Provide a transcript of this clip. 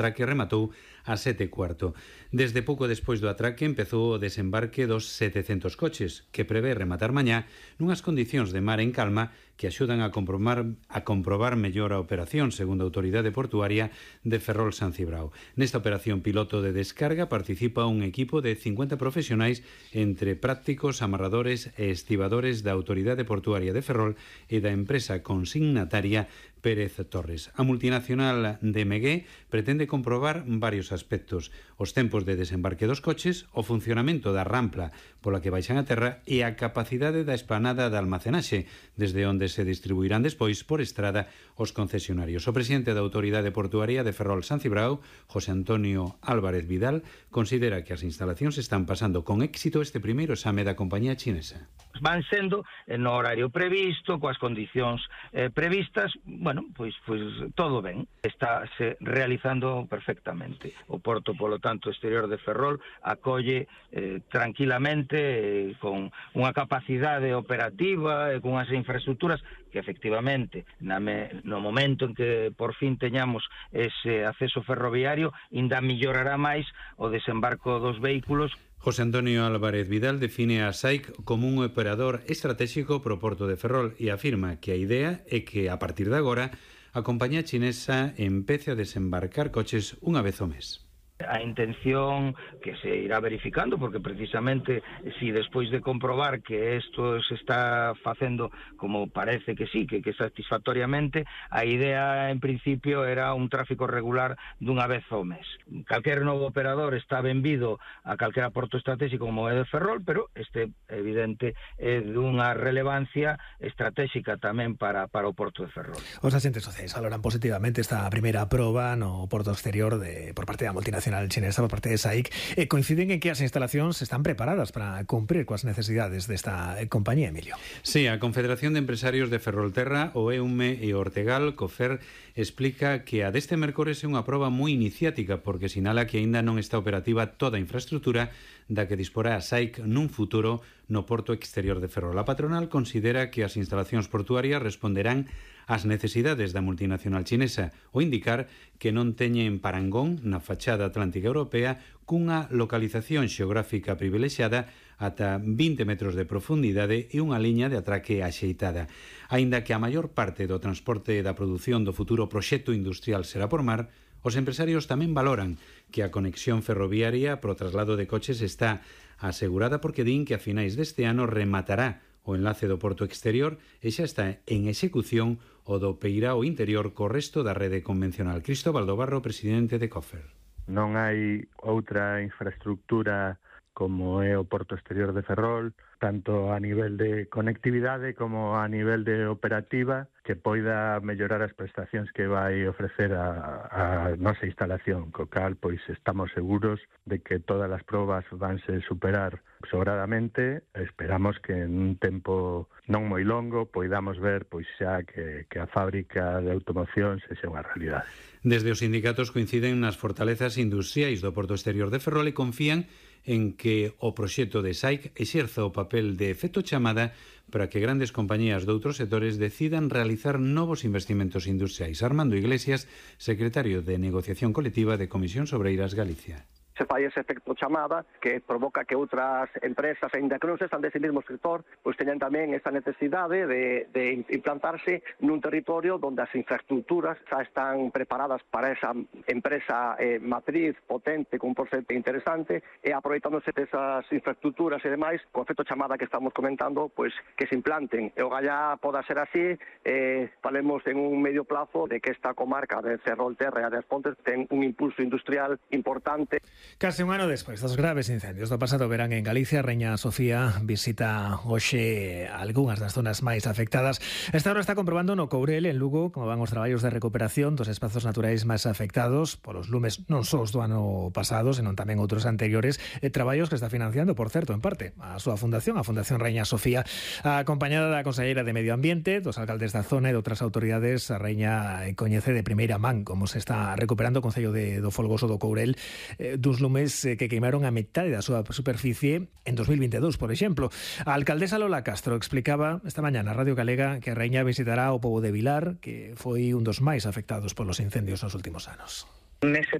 atraque rematou a 7:15. Desde pouco despois do atraque empezou o desembarque dos 700 coches, que prevé rematar mañá nunhas condicións de mar en calma que axudan a comprobar mellor a operación, segundo a Autoridade Portuaria de Ferrol San Cibrao. Nesta operación piloto de descarga participa un equipo de 50 profesionais entre prácticos, amarradores e estibadores da Autoridade Portuaria de Ferrol e da empresa consignataria Pérez Torres. A multinacional de Megué pretende comprobar varios aspectos: os tempos de desembarque dos coches, o funcionamento da rampla pola que baixan a terra e a capacidade da esplanada de almacenaxe, desde onde se distribuirán despois por estrada os concesionarios. O presidente da Autoridade Portuaria de Ferrol San Cibrao, José Antonio Álvarez Vidal, considera que as instalacións están pasando con éxito este primeiro exame da compañía chinesa. Van sendo no horario previsto, coas condicións previstas, pois todo ben. Está se realizando perfectamente. O porto, polo tanto, exterior de Ferrol acolle tranquilamente, con unha capacidade operativa e con as infraestructuras que efectivamente no momento en que por fin teñamos ese acceso ferroviario ainda mellorará máis o desembarco dos vehículos. José Antonio Álvarez Vidal define a SAIC como un operador estratégico pro porto de Ferrol e afirma que a idea é que, a partir de agora, a compañía chinesa empece a desembarcar coches unha vez ao mes. A intención que se irá verificando, porque precisamente si despois de comprobar que isto se está facendo como parece que sí, que satisfactoriamente, a idea en principio era un tráfico regular dunha vez ao mes. Calquer novo operador está benvido a calquera porto estratégico como é de Ferrol, pero este evidente é dunha relevancia estratégica tamén para o porto de Ferrol. Os agentes sociais valoran positivamente esta primeira proba no porto exterior por parte da multinacional chinesa, por parte de SAIC, coinciden en que as instalacións están preparadas para cumprir coas necesidades desta compañía, Emilio. Sí, a Confederación de Empresarios de Ferrolterra, o EUME e Ortegal, COFER, explica que a deste mércores é unha proba moi iniciática porque sinala que aínda non está operativa toda a infraestructura da que disporá a SAIC nun futuro no porto exterior de Ferrol. A patronal considera que as instalacións portuarias responderán ás necesidades da multinacional chinesa, ao indicar que non teñen parangón na fachada atlántica europea cunha localización xeográfica privilexiada ata 20 metros de profundidade e unha liña de atraque axeitada. Aínda que a maior parte do transporte da produción do futuro proxecto industrial será por mar, os empresarios tamén valoran que a conexión ferroviaria pro traslado de coches está asegurada porque din que a finais deste ano rematará o enlace do porto exterior e xa está en execución o do peirao interior co resto da rede convencional. Cristóbal do Barro, presidente de COFER. Non hai outra infraestructura como é o porto exterior de Ferrol, tanto a nivel de conectividade como a nivel de operativa, que poida mellorar as prestacións que vai ofrecer a nosa instalación, co cal pois estamos seguros de que todas as probas vanse superar sobradamente. Esperamos que en un tempo non moi longo poidamos ver pois xa que a fábrica de automoción sexa unha realidade. Desde os sindicatos coinciden nas fortalezas industriais do porto exterior de Ferrol e confían en que o proxecto de SAIC exerza o papel de efecto chamada para que grandes compañías de outros sectores decidan realizar novos investimentos industriais. Armando Iglesias, secretario de Negociación Colectiva de Comisións Obreiras Galicia. Se fai ese efecto chamada que provoca que outras empresas, aínda que non sexan dese mesmo sector, pois teñan tamén esa necesidade de implantarse nun territorio onde as infraestructuras xa están preparadas para esa empresa matriz potente, con un proxecto interesante, e aproveitándose desas infraestructuras e demais, co efecto chamada que estamos comentando, pois que se implanten. E o gallá poda ser así, falemos en un medio plazo de que esta comarca de Ferrolterra e das Pontes ten un impulso industrial importante. Case un ano despois dos graves incendios do pasado verán en Galicia, Reña Sofía visita hoxe algunhas das zonas máis afectadas. Esta hora está comprobando no Courel, en Lugo, como van os traballos de recuperación dos espazos naturais máis afectados polos lumes non só os do ano pasado, senón tamén outros anteriores, traballos que está financiando, por certo, en parte, a súa fundación, a Fundación Reña Sofía, acompañada da conselleira de Medio Ambiente, dos alcaldes da zona e de outras autoridades. A Reña coñece de primeira man como se está recuperando o Concello do Folgoso do Courel dos lumes que queimaron a metade da súa superficie en 2022, por exemplo. A alcaldesa Lola Castro explicaba esta mañá na Radio Galega que a Reña visitará o pobo de Vilar, que foi un dos máis afectados polos incendios nos últimos anos. Nese